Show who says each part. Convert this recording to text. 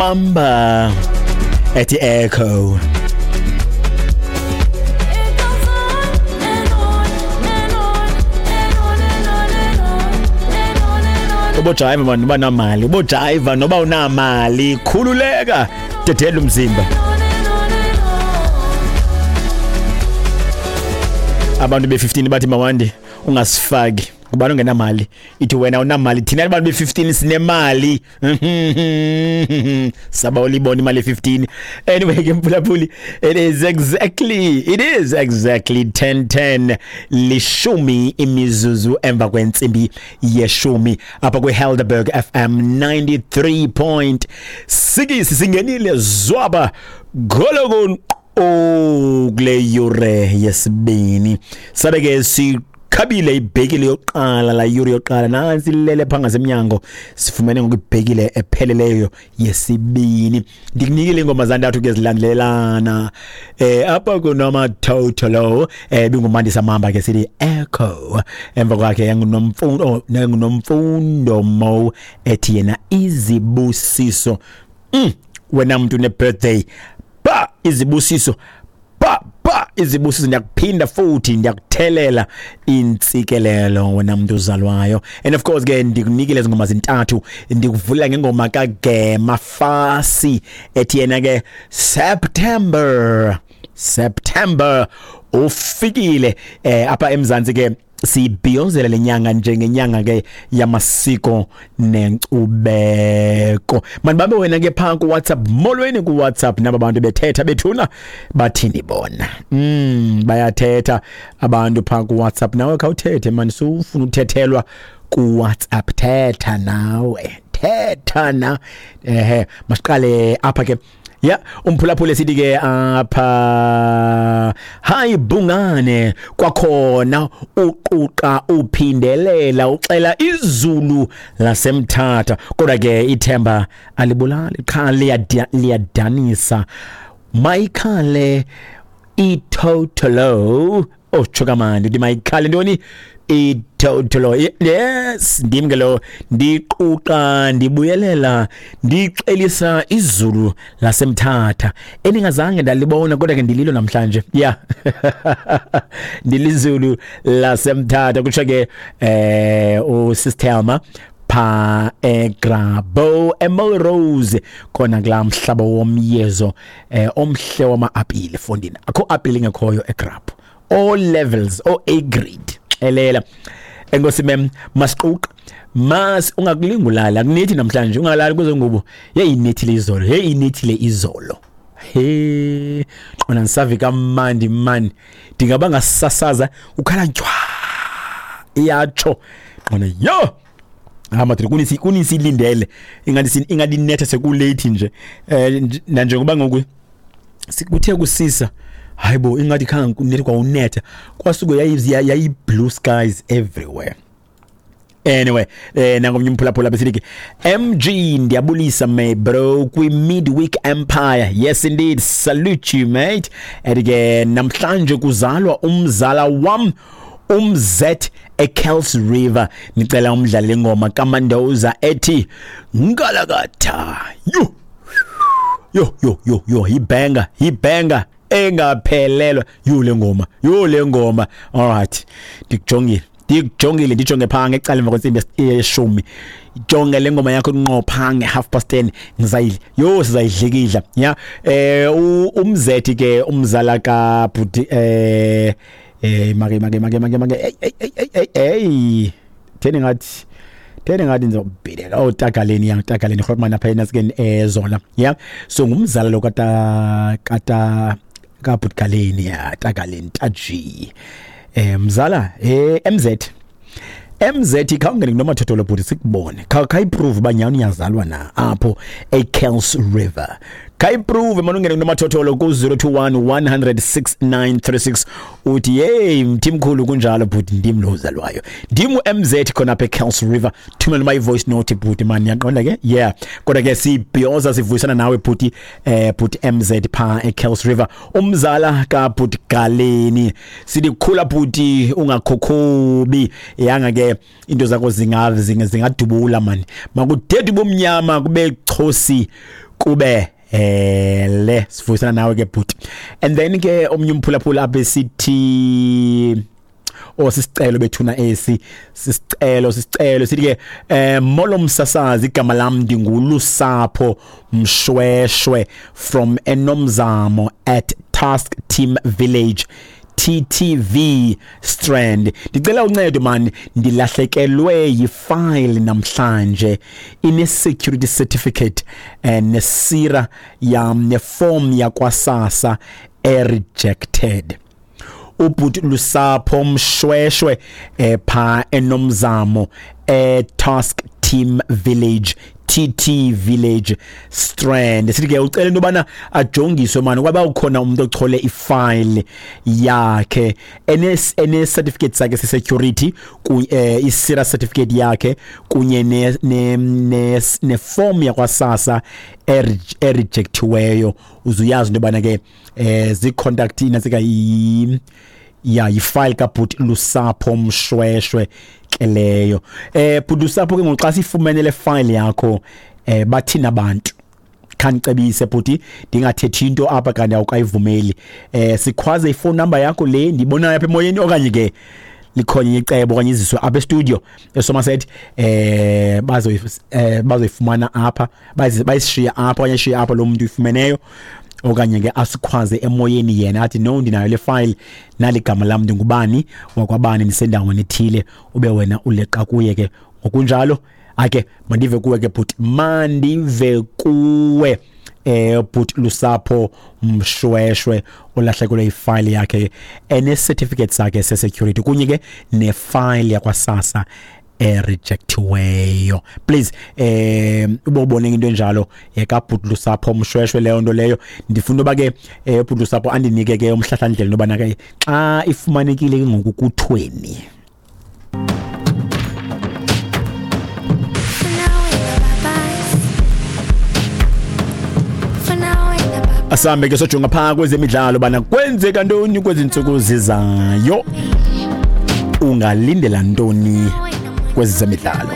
Speaker 1: Mamba ethi Echo. Ubojayiva mani uba namali, ubojayiva noba unamali, khululeka, dedela umzimba. Abantu be-15 bathi mawandi ungasifaki ubani ongenamali, ithi wena unamali, thina abantu be-15 sinemali. Saba ulibona imali ye-15. Anyway ke mphulaphuli, it is exactly 10:10, lishumi imizuzu emva kwentsimbi yeshumi, apha kwi-Helderberg FM 93.6. Singenile zwaba golokon kule yure yesibini, sabe ke sikhabile ibhekile yokuqala, la yure yokuqala nansi ilele phaa ngasemnyango. Sifumene ngoku ibhekile epheleleyo yesibini. Ndikunikile iingoma zantathu ke zilandelelana apha kunomathotholo. Bingumandisa Mamba ke sithi Echo, emva kwakhe yangunomfundo, yangunomfundo Mo ethi yena Izibusiso. Wena mntu ne-birthday, ba izibusiso, ba ba izibusiso, ndiyakuphinda futhi ndiyakuthelela intsikelelo wena mntu uzalwayo. And of course ke ndikunikile ngoma zintathu, ndikuvula ngengoma kaGema Fasi ethi yena ke September. September ufikile apha eMzantsi ke sibhiyozela lenyanga njengenyanga ke yamasiko nenkcubeko. Manibambe wena ke phaa ku-WhatsApp. Molweni ku-WhatsApp, naba bantu bethetha bethuna, bathini bona? Bayathetha abantu phaa ku-WhatsApp. Nawe khawuthethe mani, sufuna uthethelwa ku-WhatsApp, thetha nawe, thetha na. Ehe, masiqale apha ke. Ya, umphulaphula sithi ke apha, hayi bungane, kwakhona uquqa uphindelela uxela izulu lasemthatha, kodwa ke ithemba alibulali qha liyadanisa. Mayikhale itotolo. Oh, tsho kamandi, uthi mayikhale ntoni? Itotolo. Yes, ndim ke lo, ndiquqa ndibuyelela ndixelisa izulu lasemthatha eningazange ndalibona, kodwa ke ndililo namhlanje. Yeah, ndilizulu lasemthatha, kutsho ke usistelma pha eGrabo eMelrose khona kulaa mhlaba womyezo omhle wama-apile. Fondini, akho apile ingekhoyo eGrabo, all levels, all A grade. Xelela enkosi mem. Masiquqa mas ungakulinga ulala, akunithi namhlanje ungalali kuzo ngubo. Hey, inethile izolo, hey, inethile izolo. He, qona ndisave kamandi mani, ndingaba ngasasaza ukhala ntywa, iyatsho qona yo. Ah madoda, kunisi kunisilindele ingathi ingathi inetha sekulate nje, nanjengoba ngoku kuthe kusisa, hayibo, ingathi khange kunethe kwawunetha, kwasuke yayi blue skies everywhere. Anyway, nangomnye umphulaphula besithi ke, MG, ndiyabulisa my bro kwi Midweek Empire. Yes indeed, salute you mate. Ethi ke namhlanje kuzalwa umzala wam umZ eKels River, nicela umdlalele ingoma kaMandoza ethi Ngalakatha. Yo yo yo yo yo, ibenga ibenga engaphelelwa. Yo le ngoma, yo le ngoma. Alright, ndikujongile, ndikujongile, ndijonge phaa ngecala emva kwentsimbi yeshumi. Jonge le ngoma yakho ngqo phaa nge-10:30, ngizayidla yo, sizayidlikidla ya. Umzethi ke umzala kabhuti make hey hey hey hey hey, theni ngathi, theni ngathi ndizobhideka. Oh, tagaleni ya, tagaleni Grootman apha enasikeni ezola ya. So ngumzala lo kata kata kabhutgaleni ya, tagaleni taji mzala MZ MZ, khawungene kunomathotholo bhuti sikubone, khayiprove uba nyhani uyazalwa na apho eKels River. Khayiprove mani, ungene kunomathotholo ku-021 100 6936, uthi yeyi mthimkhulu, kunjalo bhuti, ndim lo uzalwayo, ndim u-MZ khona apha eKels River. Thumela uma i-voice note bhuti mani, yaqonda ke. Yeah, kodwa ke sibhiyoza sivuyisana nawe bhuti, bhuti MZ phaa eKels River, umzala kabhuti Galeni. Sithi khula bhuti, ungakhokhobi, yanga ke into zakho zingadubula mani, makudede ubumnyama kube chosi. Kube le sivuyisana nawe ke bhuti. And then ke omnye umphulaphula apha sithi sisicelo bethuna esi sisicelo sithi ke molo msasazi, igama lam ndinguLusapho Mshweshwe from Enomzamo at Task Team Village TTV Strand. Ndicela uncedo man, ndilahlekelwe yifile namhlanje ine security certificate nesira yam neform yakwaSASSA e-rejected. Ubhuti Lusapho Mshweshwe pha Enomzamo Task Team Village TT Village Strand. Sithi ke ucela into bana ajongiswe manje kwaba ukhona umuntu ochole ifile yakhe ene certificate sakhe se security ku isira certificate yakhe kunye ne form yakwaSASSA erejectiweyo. Uzuyazi into bana ke zi contact inasika ya yifile kaBhuti Lusapho Mshweshwe ke leyo. Bhuti Lusapho ke ngoxa sifumene le file yakho bathina abantu khanicebise bhuti, ndingathethi into apha kanti awukayivumeli. Sikhwaze ifone number yakho le ndibonayo apha emoyeni, okanye ke likhona icebo okanye iziswe apha e-studio eSomerset, bazoyifumana apha, bayishiya apha okanye shiya apha lo muntu uyifumeneyo, okanye ke asikhwaze emoyeni yena athi no ndinayo le file naligama lam ndingubani wakwabani ndisendaweni ethile, ube wena uleqa kuye ke ngokunjalo. Ake mandive kuwe ke bhuti, mandive kuwe bhuti Lusapho Mshweshwe olahlekelwe ifile yakhe ene certificate sakhe se security kunye ke nefile yakwaSASSA erejectiweyo. Please ubone into enjalo kaBhuti Lusapho Mshweshwe leyo nto leyo. Ndifuna uba ke Bhuti Lusapho andinike ke umhlahlandlela nobana ke xa ifumanekile ke ngoku kuthweni. Asambe ke sojonga phaa kwezemidlalo bana kwenzeka ntoni kwezi ntsuku zizayo, ungalindela ntoni kwezemidlalo.